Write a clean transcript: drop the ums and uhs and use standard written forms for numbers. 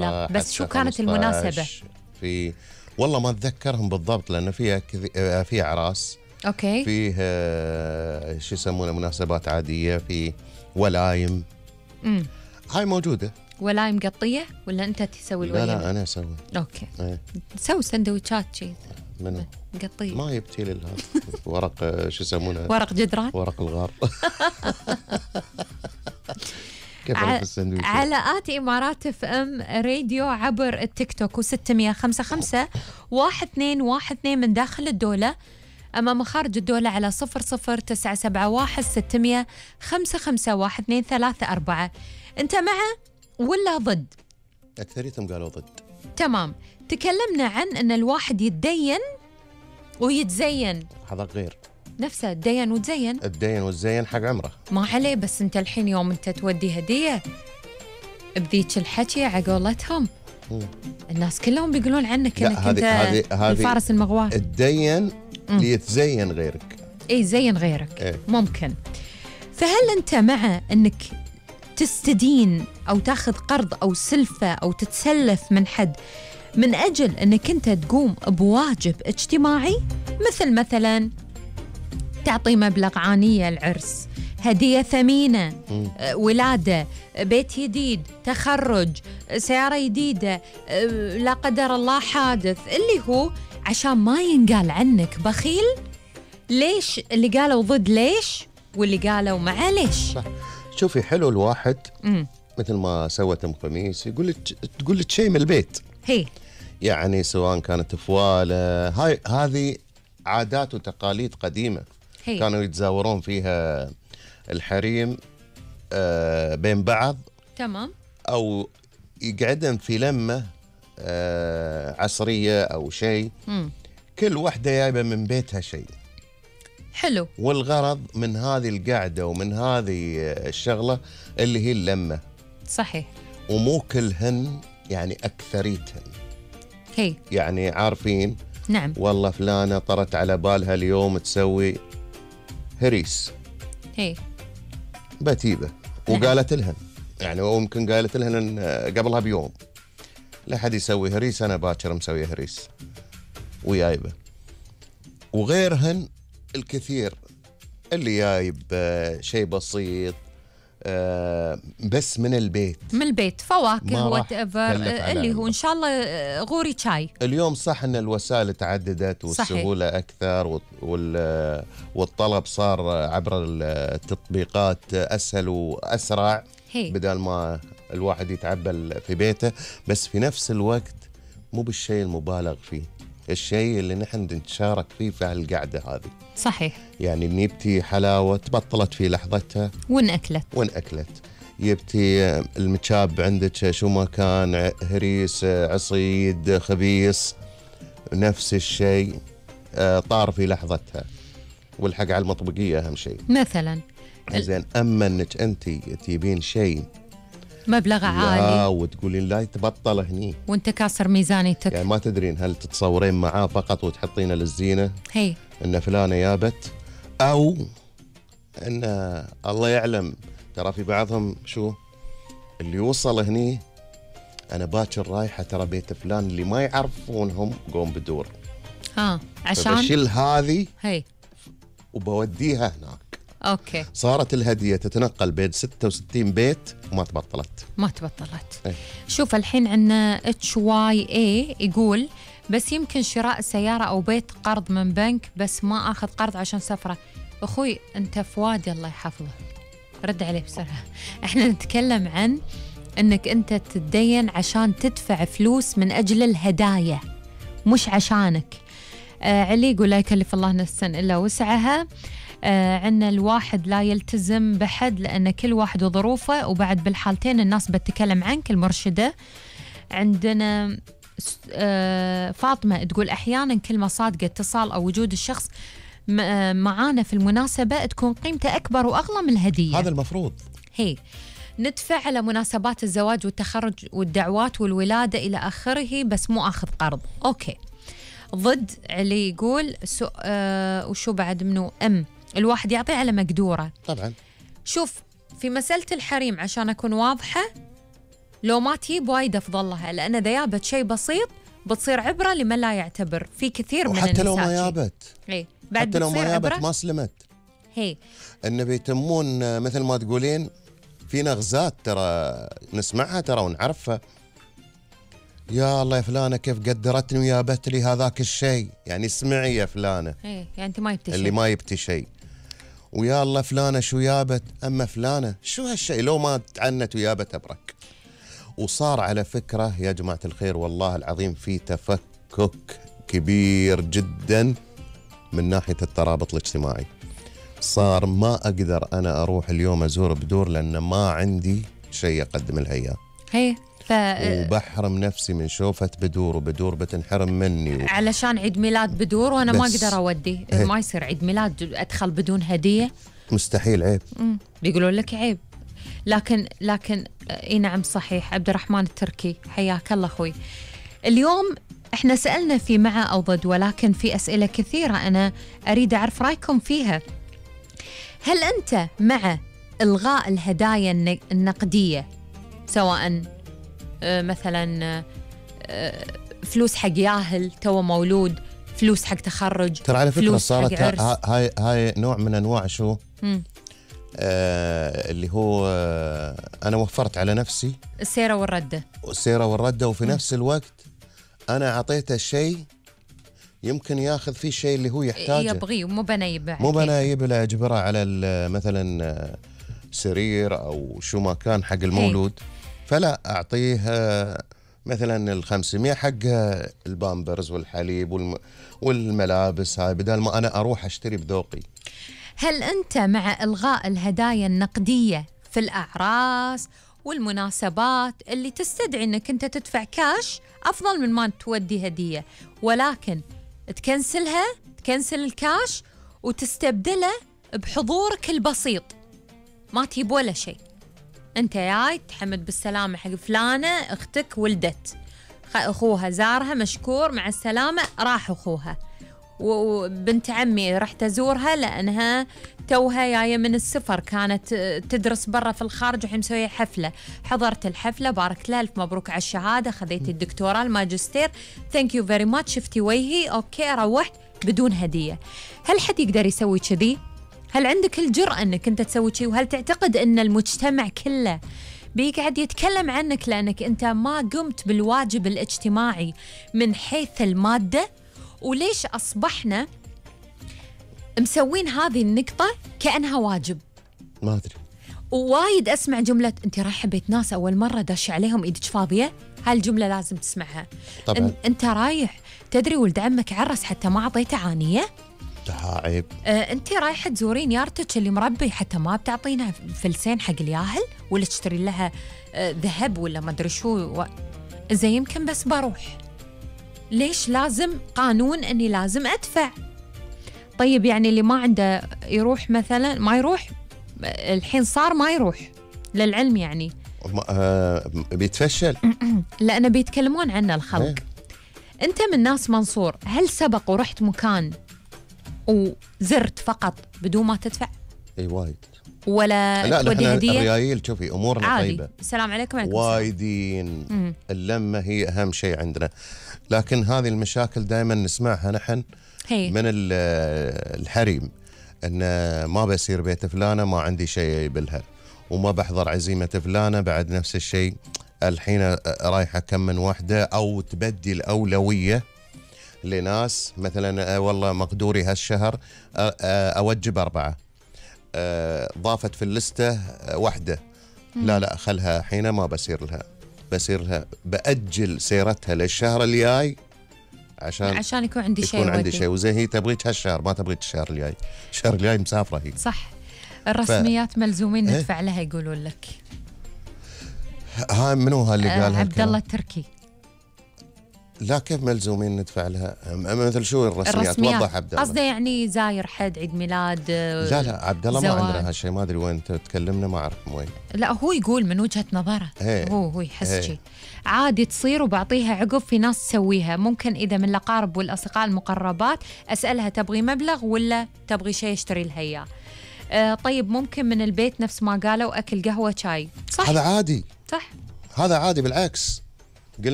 10 بس شو كانت المناسبة؟ في والله ما أتذكرهم بالضبط لأن فيها في أعراس، أوكي، فيه شو يسمونه مناسبات عادية، في ولايم. هاي موجودة. ولايم قطية ولا أنت تسوي الوليمة؟ لا أنا أسوي. أوكي. ايه. تسوي سندويتشات شيء منو؟ قطية. ما يبتي لي ورق شو يسمونه؟ ورق جدران. ورق الغار. كيف أعرف السندويشة؟ على آتي إمارات اف ام راديو عبر التيك توك و655 1212 من داخل الدولة، أما مخارج الدولة على 00971 600 551 234. أنت مع ولا ضد؟ أكثريتهم قالوا ضد. تمام. تكلمنا عن أن الواحد يتدين ويتزين. هذا غير نفسه تدين وتزين. الدين والزين حق عمره ما عليه، بس أنت الحين يوم أنت تودي هدية بذيك الحكي عقولتهم الناس كلهم بيقولون عنك انك انت الفارس المغوار. الدين ليتزين غيرك. اي زين غيرك. إيه؟ ممكن. فهل انت مع انك تستدين او تاخذ قرض او سلفة او تتسلف من حد من اجل انك انت تقوم بواجب اجتماعي، مثلا تعطي مبلغ عانية العرس، هدية ثمينة، ولادة، بيت جديد، تخرج، سيارة جديدة، لا قدر الله حادث، اللي هو عشان ما ينقال عنك بخيل؟ ليش اللي قالوا ضد ليش واللي قالوا مع ليش؟ صح. شوفي حلو الواحد مثل ما سوت ام خميس تقول لك شيء من البيت، هي يعني سواء كانت فواله، هذه عادات وتقاليد قديمة. هي. كانوا يتزاورون فيها الحريم بين بعض. تمام. أو يقعدن في لمة عصرية أو شيء، كل واحدة جايبة من بيتها شيء حلو، والغرض من هذه القعدة ومن هذه الشغلة اللي هي اللمة. صحيح. ومو كلهن، يعني أكثريتهن هي يعني عارفين. نعم. والله فلانة طرت على بالها اليوم تسوي هريس، هي بتيبة، وقالت لهن يعني وممكن قالت لهن قبلها بيوم لا حد يسوي هريس، أنا باكر مسوي هريس ويايبه. وغيرهن الكثير اللي جايب شيء بسيط بس من البيت فواكه وات ايفر اللي هو ان شاء الله غوري شاي. اليوم صح ان الوسائل تعددت والسهوله اكثر والطلب صار عبر التطبيقات اسهل واسرع. بدل ما الواحد يتعبى في بيته، بس في نفس الوقت مو بالشيء المبالغ فيه، الشيء اللي نحن نتشارك فيه في هالقعده هذه. صحيح. يعني نبتي حلاوه تبطلت في لحظتها ونأكلت. يبتي المتشاب عندك شو ما كان، هريس، عصيد، خبيص، نفس الشيء طار في لحظتها، والحق على المطبقيه اهم شيء مثلا. زين. اما انك انت تجيبين شيء مبلغ عالي وتقولين لا تبطل هني وانت كاسر ميزانيتك، يعني ما تدرين هل تتصورين معاه فقط وتحطينه للزينه هي ان فلانه جابت، او ان الله يعلم ترى في بعضهم شو اللي وصل هني انا باكر رايحه ترى بيت فلان اللي ما يعرفونهم قوم بدور عشان بشيل هذه هي وبوديها هناك. اوكي. صارت الهديه تتنقل بين 66 بيت وما تبطلت. ايه. شوف الحين عندنا HYA يقول بس يمكن شراء سياره او بيت قرض من بنك، بس ما اخذ قرض عشان سفره. اخوي انت فؤاد الله يحفظه، رد عليه بسرعه. احنا نتكلم عن انك انت تتدين عشان تدفع فلوس من اجل الهدايا مش عشانك. علي يقول لا يكلف الله نفسا الا وسعها. عندنا الواحد لا يلتزم بحد لأن كل واحد وظروفه، وبعد بالحالتين الناس بتتكلم عنك المرشدة. عندنا فاطمة تقول أحيانا كلمة صادقة، اتصال أو وجود الشخص معانا في المناسبة تكون قيمته أكبر وأغلى من الهدية. هذا المفروض. هي ندفع على مناسبات الزواج والتخرج والدعوات والولادة إلى آخره، بس مو أخذ قرض. أوكي. ضد علي يقول وشو بعد منه الواحد يعطي على مقدوره. طبعا. شوف في مسألة الحريم عشان أكون واضحة، لو ما تجيب وايد أفضل لها، لأن إذا جابت شيء بسيط بتصير عبرة لمن لا يعتبر. في كثير من النساء حتى لو ما جابت، بعد حتى لو ما جابت ما سلمت. النبي يتمون مثل ما تقولين في نغزات ترى نسمعها ترى ونعرفها. يا الله يا فلانة كيف قدرتني وجابت لي هذاك الشيء، يعني اسمعي يا فلانة، يعني أنت ما يبتي شيء، اللي ما يبتي شيء. ويا الله فلانة شو جابت، أما فلانة شو هالشيء لو ما تعنت وجابت أبرك. وصار على فكرة يا جماعة الخير والله العظيم في تفكك كبير جدا من ناحية الترابط الاجتماعي. صار ما أقدر أنا أروح اليوم أزور بدور لأن ما عندي شيء أقدم لها إياه. وبحرم نفسي من شوفة بدور، وبدور بتنحرم مني علشان عيد ميلاد بدور وأنا ما أقدر أودي. ما يصير عيد ميلاد أدخل بدون هدية، مستحيل، عيب. بيقولون لك عيب. لكن اي نعم صحيح. عبد الرحمن التركي حياك الله أخوي. اليوم احنا سألنا في مع أو ضد، ولكن في أسئلة كثيرة أنا أريد أعرف رأيكم فيها. هل أنت مع إلغاء الهدايا النقدية، سواء مثلا فلوس حق ياهل تو مولود، فلوس حق تخرج، ترى على فكرة صارت هاي نوع من أنواع شو اللي هو أنا وفرت على نفسي السيرة والردة، وفي نفس الوقت أنا أعطيته شيء يمكن ياخذ فيه شيء اللي هو يحتاجه، يبغيه، مو بنايبه له أجبره على مثلا سرير أو شو ما كان حق المولود. فلا أعطيه مثلا 500 حق البامبرز والحليب والملابس، هاي بدل ما أنا أروح أشتري بذوقي. هل أنت مع إلغاء الهدايا النقدية في الأعراس والمناسبات اللي تستدعي أنك أنت تدفع كاش أفضل من ما تودي هدية، ولكن تكنسل الكاش وتستبدله بحضورك البسيط، ما تجيب ولا شيء، أنت جاي تحمد بالسلامة حق فلانة أختك ولدت، أخوها زارها مشكور مع السلامة، راح أخوها. وبنت عمي رحت أزورها لأنها توها جاية من السفر، كانت تدرس برا في الخارج وحين مسوية حفلة، حضرت الحفلة، باركت لها، ألف مبروك على الشهادة، خذيتي الدكتوراه الماجستير، ثانك يو فيري ماتش، شفتي وجهي، أوكي، روحت بدون هدية. هل حد يقدر يسوي كذي؟ هل عندك الجرأة أنك أنت تسوي شيء؟ وهل تعتقد أن المجتمع كله بيقعد يتكلم عنك لأنك أنت ما قمت بالواجب الاجتماعي من حيث المادة؟ وليش أصبحنا مسوين هذه النقطة كأنها واجب؟ ما أدري. ووايد أسمع جملة أنت رايحة بيت ناس أول مرة داش عليهم إيدك فاضية، هالجملة لازم تسمعها طبعا. أنت رايح تدري ولد عمك عرس حتى ما أعطيته عانية؟ عيب. أنت رايحة تزورين يارتك اللي مربي حتى ما بتعطينها فلسين حق الياهل، ولا تشتري لها ذهب ولا ما أدري شو زي يمكن بس بروح. ليش لازم قانون أني لازم أدفع؟ طيب يعني اللي ما عنده يروح مثلا ما يروح، الحين صار ما يروح للعلم يعني بيتفشل لأنه بيتكلمون عنه الخلق. أنت من ناس منصور، هل سبق ورحت مكان وزرت فقط بدون ما تدفع؟ اي وايد. ولا تودي هدية؟ الريايل شوفي امورنا طيبه، السلام عليكم. وايدين. اللمه هي اهم شيء عندنا، لكن هذه المشاكل دائما نسمعها نحن من الحريم، ان ما بسير بيت فلانه ما عندي شيء يبلها، وما بحضر عزيمه فلانه بعد نفس الشيء. الحين رايحه كم من وحده، او تبدي الاولويه لناس مثلا والله مقدوري هالشهر اوجب 4، ضافت في اللستة واحدة، لا خلها حين ما بسير لها بأجل سيرتها للشهر الجاي عشان يكون عندي شيء وزي هي تبغيك هالشهر ما تبغيك الشهر الجاي مسافرة هي. صح. الرسميات ملزومين ندفع لها يقولون لك. هاي منو اللي قالها؟ عبد الله التركي. لا كيف ملزومين ندفع لها؟ مثل شو الرسميات؟ وضح عبد الله. قصده يعني زاير حد عيد ميلاد. لا عبد الله ما عندنا هالشيء، ما ادري وين تكلمنا، ما اعرف وين. لا هو يقول من وجهة نظره، هو يحس شيء عادي تصير وبعطيها عقب. في ناس تسويها، ممكن اذا من الاقارب والاصدقاء المقربات اسالها تبغي مبلغ ولا تبغي شيء اشتري لها اياه. طيب ممكن من البيت نفس ما قالوا اكل قهوة شاي، صح؟ هذا عادي. صح. هذا عادي بالعكس. قلنا